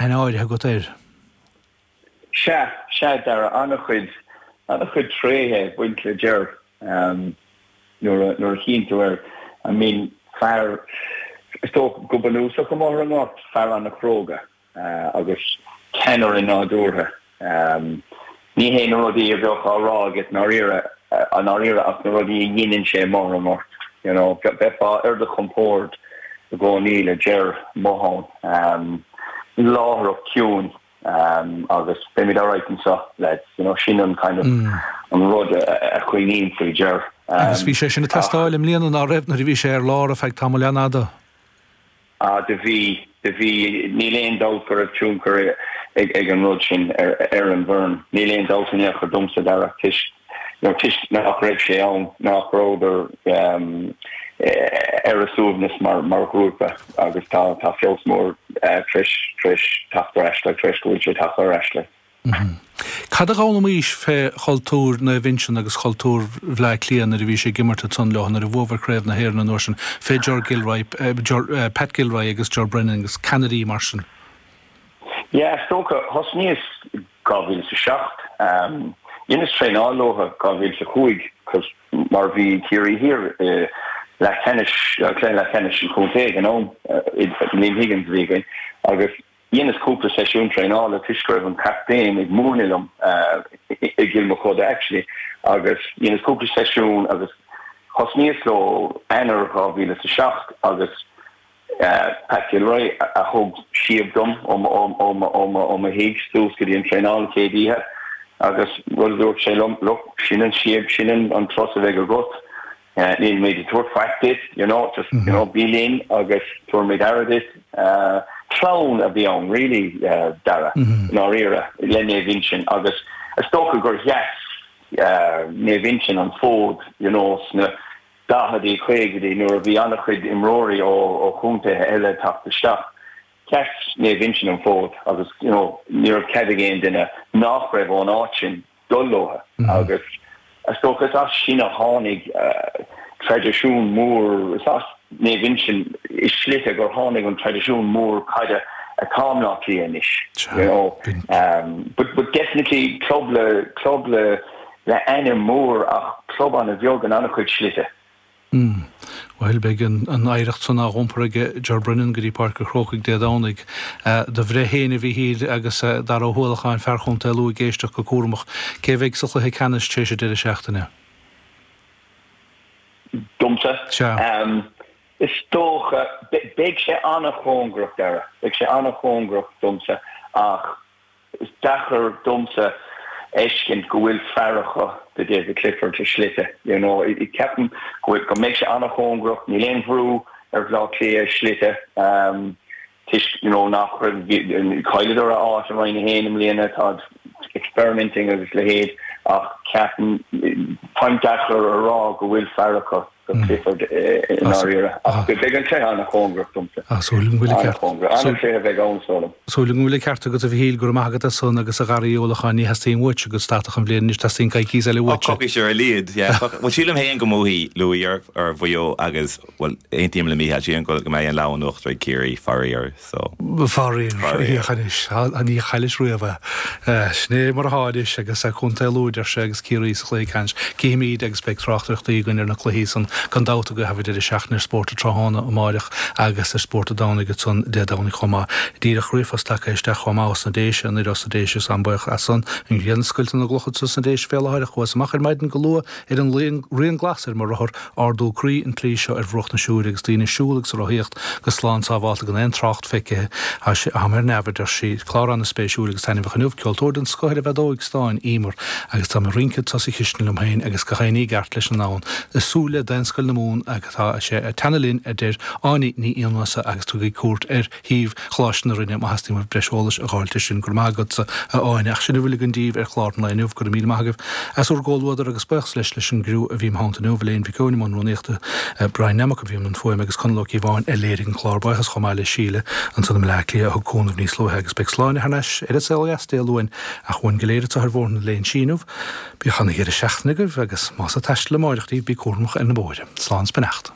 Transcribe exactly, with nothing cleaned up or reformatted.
Aithne áirithe agat air. Sea, sea, Dara, an-chuid, an-chuid tréithe ag baint le Ger nuair a, nuair a chíonn tú air. I mean, fear, is dócha, go bunúsach amuigh ar an ngort, fear an-chróga agus ceannaire nádúrtha. Ní hé na rudaí a bheadh á rá agat i ndáiríre, i ndáiríre ach na rudaí a dheineann sé amuigh ar an ngort. You know, bheifeá ar do chompord i gcónaí le Ger amuigh ann. Láithreach ciúin agus beimid alright anseo, lads, you know, sin an kind of an rud a choinním faoi Ger. Agus bhí sé sin ag teastáil i mbliana, ná raibh, nuair a bhí sé ar lár ar feadh tamaill an-fhada? Ah, do bhí, do bhí, níl aon dabht go raibh tionchar ag ag an rud sin ar ar an bhfoireann. Níl aon dabht in aon chor domsa, Dara, toisc, you know, toisc nach raibh sé ann, nach rabhadar ar a suaimhneas mar mar ghrúpa agus tá tá feabhas mór tar éis tar éis teacht ar ais, like, tar éis go bhfuil sé tagtha ar ais, like. Cad a d'fhoghlaimís fé chultúr Naomh Uinseann agus chultúr Bhleá Cliath nuair a bhís ag imirt ansan leo, nuair a bhuabhair Craobh na hÉireann an uair sin, fé Ger Gilroy, Pat Gilroy agus Ger Brennan agus ceannairí mar sin? Yeah, is dócha, thosnaíos dhá mhíle is a seacht, dheineas traenáil leo dhá mhíle is a cúig cos mar bhí Ciarraí Thiar i leathcheannais, cluiche leathcheannais an chontae ag an am, Liam Higgins a bhí againn agus dheineas cúpla seisiún traenála toisc go raibh an captaen ag múineadh liom i gCill Mochuda actually agus dheineas cúpla seisiún agus thosnaíos leo Eanáir dhá mhíle is a seacht agus Pat Gilroy a thug síob dom ó mo thigh suas go dtí an traenáil an chéad oíche agus rud a dúirt sé liom, look, sin an síob, sin an turas a bheidh agat. Nílimid ag tabhairt faic duit, you know, just, you know, bí linn agus tabharfaimid aire duit. Clann a bhí ann, really, Dara, i ndáiríre, le Naomh Uinseann agus is dócha gur sheas Naomh Uinseann an fód, you know, sna daicheadaí, caogaidí nuair a bhí an-chuid imreoirí ó chontaetha eile ag teacht isteach. Sheas Naomh Uinseann an fód agus, you know, ní raibh cead ag aon duine nach raibh ón áit sin dul leo agus is dócha is as sin a tháinig traidisiún mór, is as Naomh Uinseann i slite gur tháinig an traidisiún mór caide atá i mBleá Cliath anois, you know. But, but definitely club le, club le, le ainm mór ach club an-bheag in an-chuid slite. Mm. Bhuel, beidh an oidhreacht san á iompar ag Ger Brennan go dtí Páirc an Chrócaigh Dé Domhnaigh. Do bhreith féin, a Mhíchíl, agus Dara Ó hUallacháin, fear Chontae Lú, ag éisteacht go cúramach. Cé a bheidh sa chluiche ceannais tar éis an deireadh seachtaine? Domsa? Sea. Is dócha, beidh sé an-chóngarach, Dara. Beidh sé an-chóngarach domsa ach Is deacair domsa fheiscint go bhfuil fear acu do David Clifford i slite, you know. Ceapaim go bhfuil, go mbeidh sé an-chóngarach, níl aon bhrú ar Bhleá Cliath i slite toisc, you know, nach raibh, chailleadar a áit i Roinn a haon i mbliana, táid experimenting agus leithéid ach ceapaim, táim deacair a rá go bhfuil fear acu. do Clifford i ndáiríre. Ach beidh an cluiche an-chóngarach domsa. Súil agam go bhfuil an ceart. An-chóngarach. An-chluiche a bheidh ann, is dóigh liom. Súil agam go bhfuil an ceart agat, a Mhichíl, go raibh maith agat as san agus a Dhara Uí Uallacháin, ní theastaíonn uaitse go stadfadh an bhliain anois, teastaíonn coicís eile uaitse. Coicís ar a laghad, yeah. Bhuel, sílim féin go mbuafaidh Lú ar Mhaigh Eo agus, bhuel, aontaím le Mícheál, sílim go mbeidh an lámh in uachtar ag Ciarraí, faraor, so. Faraor, féach anois, ní chaillis riamh é. Sin é mar atá anois agus Contae Lú, deir sé, agus Ciarraí sa chluiche ceannais. Cífimid agus beidh tráchtaireachtaí againn ar na cluichí san gan dabht i gcaitheamh an deireadh seachtaine ar Spórt an Tráthnóna amáireach agus ar Spórt an Domhnaigh ansan Dé Domhnaigh chomh maith. Díreach ríomhphost tagtha isteach chomh maith ós na Déise, anoir ós na Déise is an-bhuíoch as san. An ghrian ag scoilteadh na gcloch anso sna Déise fé láthair ach chuas amach ar maidin go luath ar an rian glas ar mo rothar Ardú croí an tslí seo ar bhruach na Siúire agus daoine ag siúl agus ag rothaíocht go slán sábhálta gan aon trácht feicthe. Tá mé ar neamh, a deir sí. Clár ana-spéisiúil agus taitneamhach inniu. Ceoltóir den scoth ar an bhfeadóig stáin, Emer, agus tá mé ag rince anso sa chistin liom féin agus gach aon ní i gceart leis an ndomhan. Ag súil le Daonscoil na Mumhan agus tá sé ag teannadh linn, a deir Áine Ní Fhianghusa agus tugaigí cuairt ar shuíomh Choláiste na Rinne má theastaíonn uaibh breis eolais a dh'fháilt air sin. Go raibh maith agatsa, a Áine. Ach sin a bhfuil againn daoibh ar chlár an lae inniu. Go raibh míle maith agaibh as bhur gcomhluadar agus buíochas leis leis an gcriú a bhí im theannta inniu, Elaine Mhic Eoin i mbun rúnaíochta, Brian Nammock a bhí i mbun fuaime agus Conall Ó Cíobháin a léirigh an clár. Buíochas chomh maith le Síle ansan i mBleá Cliath a thug cúnamh níos luaithe agus beidh Sláine thar n-ais ar An Saol Ó Dheas Dé Luain ach uainn go léir anseo ar Bhóthar na Léinsí inniu, bíodh ana dheireadh seachtaine agaibh agus más ag taisteal amáireach daoibh bí cúramach ar na bóithre. Slán 's beannacht.